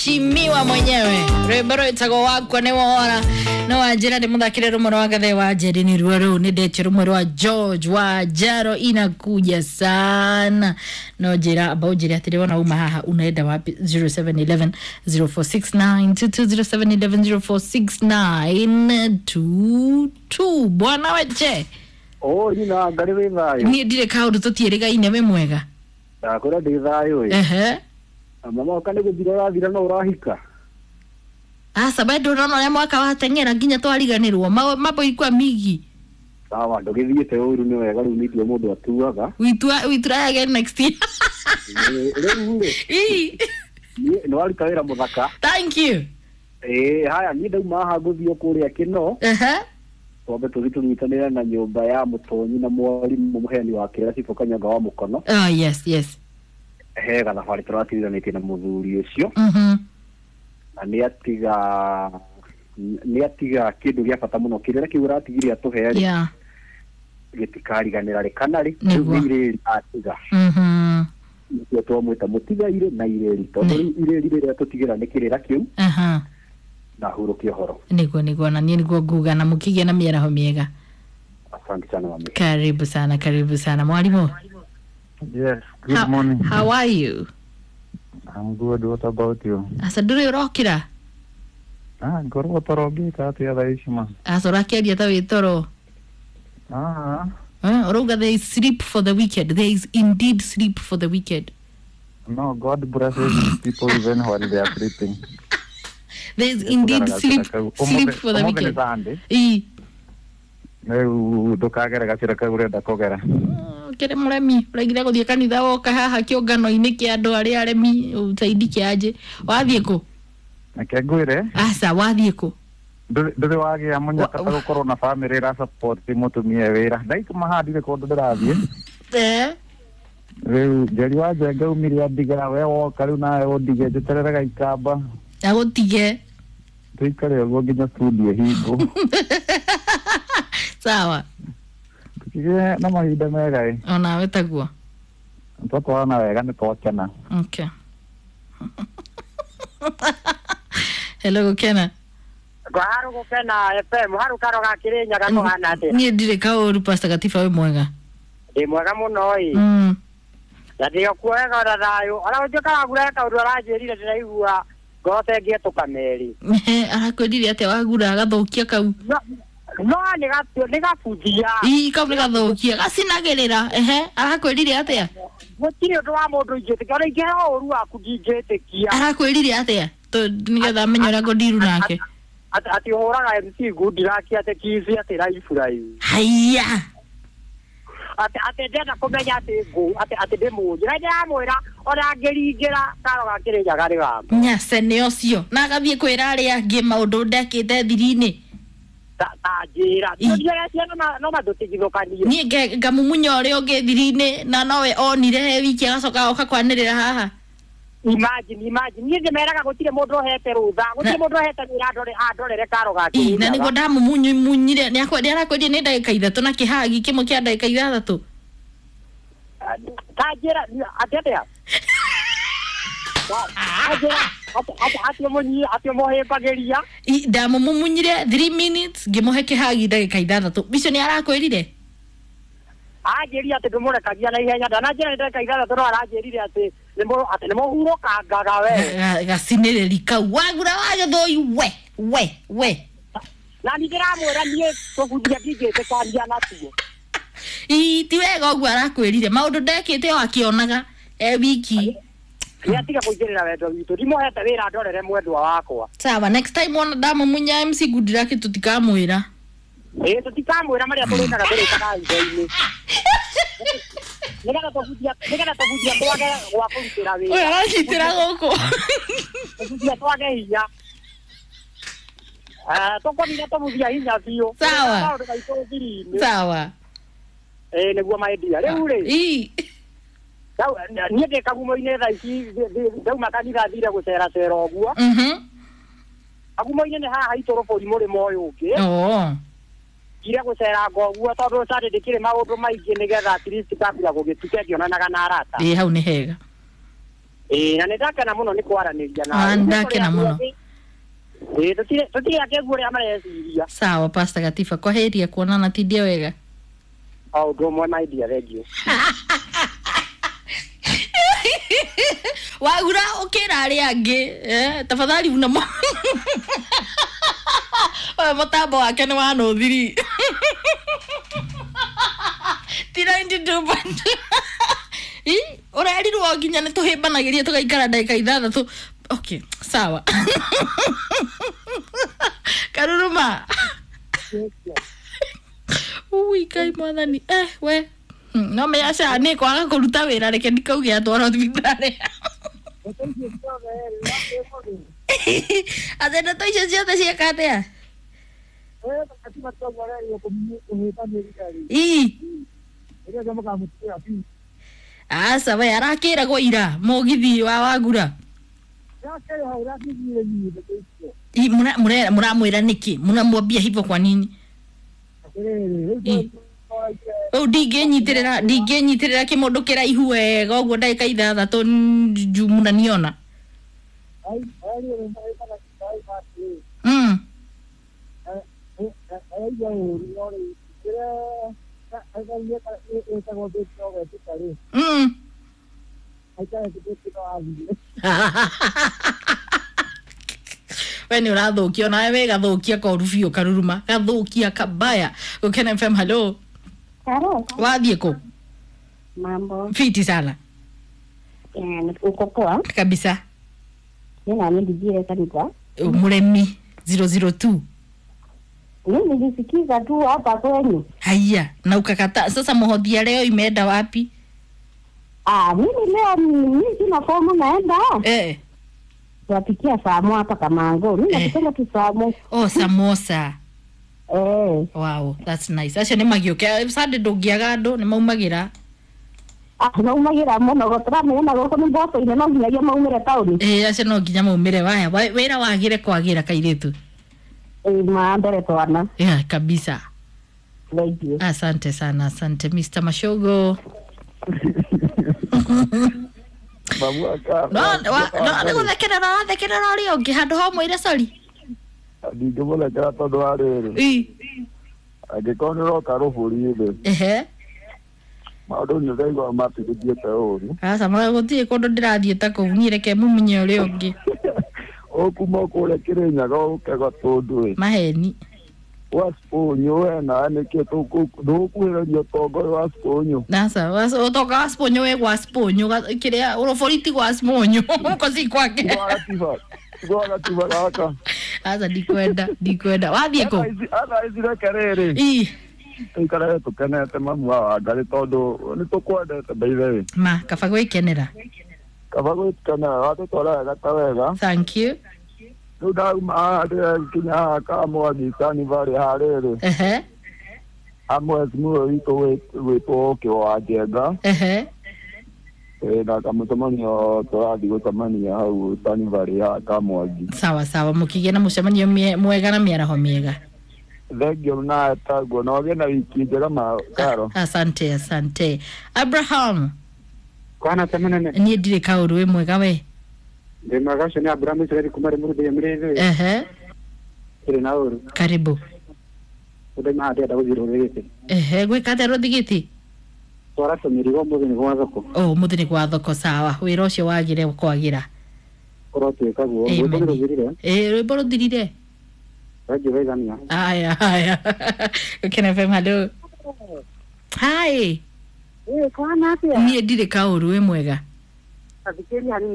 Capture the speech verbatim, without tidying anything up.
Mheshimiwa mwenyewe rwimbo rwitagwo wakwa nĩ wora no wanjĩra nĩ mũthakĩre rũmwe rwa gathe wa njeri nĩ ruo rũu nĩ ndetio rũmwe rwa George wa Jaro inakuja sana no njĩra amba ũnjĩre atĩrĩ wona uma haha unaenda wapi zero seven eleven zero four six nine two two zero seven eleven zero four six nine two two bwana weche Oh, nyina ngarĩ wĩ thayũ. niĩ ndirĩ kaũndũ tũtiĩrĩgaine wĩ mwega Ndakwĩra ndĩ thayũ ĩ. ehe Na mama oka nĩ gũthira ũrathira no ũrahika. aca bado ũrona ũrĩa mwaka wateng'era nginya twariganĩrwo Ma- mambo ilikuwa migi Sawa, ndũgĩthiĩte ũru nĩ wega rĩu nĩ itua mũndũ atuaga. we try, we try again next year. Ĩ, Rĩu rĩ, Ii, niĩ nĩ waruta wĩra mũthaka. thank you. Ĩ, haya niĩ ndauma haha ngũthiĩ o kũrĩa Kĩno, Uh-huh. twambe tũthiĩ tũnyitanĩre na nyũmba ya mũtonyi na mwarimũ mũheani wa kĩrĩra Cibũ Kanyonga wa Mũkono. Oh, yes, yes. He gathabarĩ tũratigithanĩtie na mũthuri ũcio Mhm. na nĩ atiga nĩ atiga kĩndũ gĩa bata mũno kĩrĩra kĩu aratigire atũhe rĩ Yeah. gĩtikariganĩra rĩ kana rĩ rĩu Nĩguo. nĩ irĩri atiga Mhm. nĩkĩo twamwĩta mũtiga irĩ na irĩri tondũ rĩu irĩri rĩrĩa tũtigĩra nĩ kĩrĩra kĩu Aha. na hurũke ũhoro. Nĩguo nĩguo na niĩ nĩguo nguga na mũkĩgĩa na mĩaraho mĩega. Asante sana mami. Karibu sana, karibu sana mwalimu. Yes, good How, morning. how are you? I'm good. What about you? Aca ndũrĩ ũrokĩra? Ah, ngorwo toro ngĩka atĩa thaa ici ma? Aca ũrakĩaria ta wĩ toro. Ah, Eh, ũrauga there is sleep for the wicked. There is indeed sleep for the wicked. no, God blesses his people even while they are sleeping. There is indeed sleep sleep for the Ũmũthĩ nĩ wicked. Sunday. Ii. Rĩu ndũkagere gacĩra kau ũrenda kũgera. Kĩrĩ mũremi ũraigire gũthiĩ kanitha woka haha kĩũngano-inĩ kĩa andũ arĩa aremi ũteindi kĩanjĩ wathiĩ kũ Reke ngwĩre, aca wathiĩ kũ ndũrĩ ndũrĩ wagĩa mũnyaka ta Wa- gũkorwo na bamĩrĩ ĩra support mũtumia e wĩra. Ndaikuma haha ndirĩ kũndũ ndĩrathiĩ. Eh, Rĩu Njeri wa Njenga umire andiga we woka rĩu nawe ũndige njeterere gaikamba. agũtige Tũikare ũguo nginya studio ĩhingwo. sawa Tũkĩgĩe na mahinda mega ĩ. onawe taguo Twatwarana wega nĩ twakena. okay hello gũkena Ngwaharu gũkena F M haru karo ga Kĩrĩnyaga kũhana atĩa? niĩ ndirĩ kaũru Pastor Gatiba wĩ mwega Ndĩ mwega mũno ĩ. Mm. Na ndĩ o kuo wega ona thayũ. Ona gũtuĩka wagura he kaũndũ aranjĩrire ndĩraigua ngoro ta ĩngĩetũka merĩ. Arakwĩrire atĩa wagura agathũkia kau No no nĩ gatu- nĩ gabuthia. ii kau nĩ gathũkia gacinagĩrĩra ehe arakwĩrire atĩa Gũtirĩ ũndũ wa mũndũ ingĩtĩkia. Ona ingĩheo ũru waku ndingĩtĩkia. arakwĩrire atĩa Tondũ nĩgetha amenye ũrĩa ngũndiru nake Atĩ atĩ ũhũraga M C Goodluck atĩ kici atĩ raibu raibu. haiya Atĩ atĩ ndĩrenda kũmenya atĩ ngũ atĩ atĩ ndĩmũnjĩra. Na ndĩramwĩra ona angĩringĩra karo ga Kĩrĩnyaga nĩ gakwa. nyace nĩ ũcio na agathiĩ kwĩra arĩa angĩ maũndũ ndekĩte thiri-inĩ Ta ta njĩra. Ii. Tũthiaga ciana no no matũtigithũkanie. niĩ nge- ngamumunya ũrĩa ũngĩ thiri-inĩ na nowe onire he wiki agacoka oka kwanĩrĩra haha Imagine, imagine. Niĩ ndĩmeraga gũtirĩ mũndũ ũhete rũtha, gũtirĩ mũndũ ũhete wĩra andore andorere karo ga Ii, na nĩguo Kĩrĩnyaga. ndamumunyumunyire nĩ arakwĩrire nĩ ndagĩka ithatũ na kĩhagi kĩmwe kĩa ndagĩka ithathatũ Ta njĩra atĩ atĩa? Ta njĩra atĩ atĩ atĩ ũmũnyi atĩ ũmũhĩmbagĩria. Ii, ndamũmumunyire three minutes ngĩmũhe kĩhagi ndagĩka ithathatũ icio nĩ arakwĩrire Anjĩrire atĩ ndũmũrekagia na ihenya ndananjĩra nĩ ndagĩka ithathatũ no aranjĩrire atĩ nĩmũ atĩ nĩmũhurũkangaga we. Ga- gacinĩrĩri kau wagura wa gĩthũi we we we Na niĩ ndĩramwĩra niĩ tũbuthia ndingĩtĩkania natuo. Ii, ti wega ũguo arakwĩrire maũndũ ndekĩte o akĩonaga e wiki Nĩ atiga kũingĩrĩra wendo witũ. Ndimũhete wĩra andorere mwendwa wakwa. sawa next time wona ndamũmunya M C Goodluck tũtikamwĩra Ĩĩ tũtikamwĩra marĩa tũrĩkaga tũrĩkaga hitho-inĩ. Nĩgetha tũbuthia nĩgetha tũbuthia twage gwa kũrutĩra ũyũ wĩra. aranyitĩra gũkũ Tũbuthia twage hinya. Ah, tũkũnina tũbuthia hinya biũ. Sawa. Maũndũ maitũ thiri-inĩ. sawa Ĩĩ nĩguo my dear. Rĩu rĩ, Ii. ndau- niĩ ndĩ kagumo-inĩ thaa ici ndĩ- ndĩ- ndauma kanitha thire gũceracera ũguo. Mhm. Kagumo-inĩ nĩ haha haitũ rũbũri mũrĩmo ũyũ ũngĩ. Oo. Thire gũceranga ũguo tondũ Sunday ndĩkĩrĩ maũndũ maingĩ nĩgetha at least kambia gũgĩtuka ngĩonanaga na arata. Ĩ hau nĩ hega Ĩĩ, na nĩ ndakena mũno nĩ kwaranĩria nawe. Ah, ndakena mũno. Ĩĩ, tũtirĩ tũtirĩ akĩgu ũrĩa mareciria. Sawa Pastor Gatiba, kwa heri ya kuonana, tindia wega. O ũndũ ũmwe my dear, thank you. Wagura ukira aria angi eh, tafadhali una mo oyo mutambo wake ni wa nũthiri ti ninety two point ĩ ũrerirwo nginya nĩ tũhĩmbanagĩria tũgaikara ndagĩka ithathatũ. Okay, sawa. Karuruma ui kai mwathani eh we. Hmm, no menya aca nĩ kwaga kũruta wĩra reke ndikauge atwarwo thibitarĩ. Atĩ ndeto icio ciothe cieka atĩa? Ii aca we arakĩragwo ira mũgithi wa wagura. Ii, mũra- mũre- mũramwĩra nĩkĩ mũramwambia hivyo kwa nini? Ii. Rĩu ndingĩnyitĩrĩra ndingĩnyitĩrĩra kĩmũndũ kĩraihu wega ũguo ndagĩka ithathatũ njuu mũnaniona. Mm. Mm. We nä å rathå kia onawe we gathå kia koru biå karuruma gathå kia kabaya gå kena F M hello. Halo. Wathiä kå? Mambo. Fiti sana. Eh, uko poa? Kabisa. Mimi na mimi ndijire kanisa. Mũremi zero zero two. Mimi nilisikiza tu hapa kwenyu. Haya na ukakata sasa mũhothia leo imeenda wapi? Ah, mimi leo mimi sina fomu naenda. Eh. Tuwapikia samo hapa Kamango. Mimi Eh. nakupenda tu samo. Oh, samosa. Eh. Wow, that's nice. Acio nä magiå Sunday ndũngĩaga andũ nĩ maumagĩra. Ah, maumagira mũno gũtũramenya na gũkũ nĩ mboco-inĩ no nginyagia maumĩre taũni. Ĩĩ acio no nginya maumĩre waya wa- wĩra wagĩre kwagĩra kairĩtu. Ĩĩ ma mbere twana. Yeah, kabisa. Thank you. Asante sana, asante Mister Mashogo. Mamu aka No, wa- no nĩ gũthekerera ũrathekerera ũrĩa ũngĩ handũ ha ũmwĩre sorry. Ndingĩmũthekera tondũ wa rĩrĩ Ĩ. angĩkorwo nĩ ũroka rũbũri-rĩ Ehe. maũndũ nĩ ũraigua matigũthiĩte ũru. Aca ma gũtirĩ kũndũ ndĩrathiĩ ta kũu niĩ reke mumunye ũrĩa ũngĩ. Ũkuma kũrĩa Kĩrĩnyaga ũke Gatũndũ ĩ Maheni. wa Sponyo we nawe nĩkĩ ndũgũkuhĩrĩria ũtonga ũyũ wa Sponyo. Aca ũtonga wa Sponyo wĩ gwa Sponyo kĩrĩa ũrũbũri ti gwa Sponyo huko si kwake. Tigwa gatiba tigwa gatiba gaka. Aca ndikwenda ndikwenda wathiĩ kũ? Athaa ici reke rĩrĩ Ĩ. tũikarage tũkenete mamu wa Wangarĩ tondũ nĩ tũkwendete by the way. Ma kaba gwĩkenera. Kaba gwĩkenera watũtwara wega ta wega. Thank you. Rĩu ndauma haha ndĩrakinya haha Kamwangi Carnival harĩrĩ Ehe. amwecimu ũyũ witũ gwĩtwo Ũkĩ wa Njenga. Ehe. Ĩ, na kamũcemanio tũrathiĩ gũcemania hau Carnival ya Kamwangi. Sawa sawa mũkĩgĩa na mũcemanio mie- mwega na mĩaraho mĩega. Thengiũ nawe taguo na ũgĩe na wiki njega ma Karo. Asante asante. Abraham Kwana temenene niĩ ndirĩ kaũndũ wĩ mwega we. Ndĩ mwega ũcio nĩ Abrahamu Israeli kuma Rĩmuru thĩinĩ mũrĩthĩ Ehe. ĩrĩ na ũru Karibu. ũndũ haha ndĩrenda gũthiĩ rũrĩrĩ Ehe gwĩka atĩa rũthigiti? twara tũmĩrigo ũmũthĩ nĩ gwa thoko. Oh mũthĩ nĩ gwa thoko sawa wĩra ũcio wagĩre kwagĩra. Ũrotuĩka guo rwĩmbo Amen. nĩ rũthirire. Ĩ rwĩmbo rũthirire. Thengiũ geithania. Haya haya. Gũkena F M hello. Hi. Ĩĩ kwana atĩa? Niĩ ndirĩ kaũru wĩ mwega. Athikĩrĩria hanini.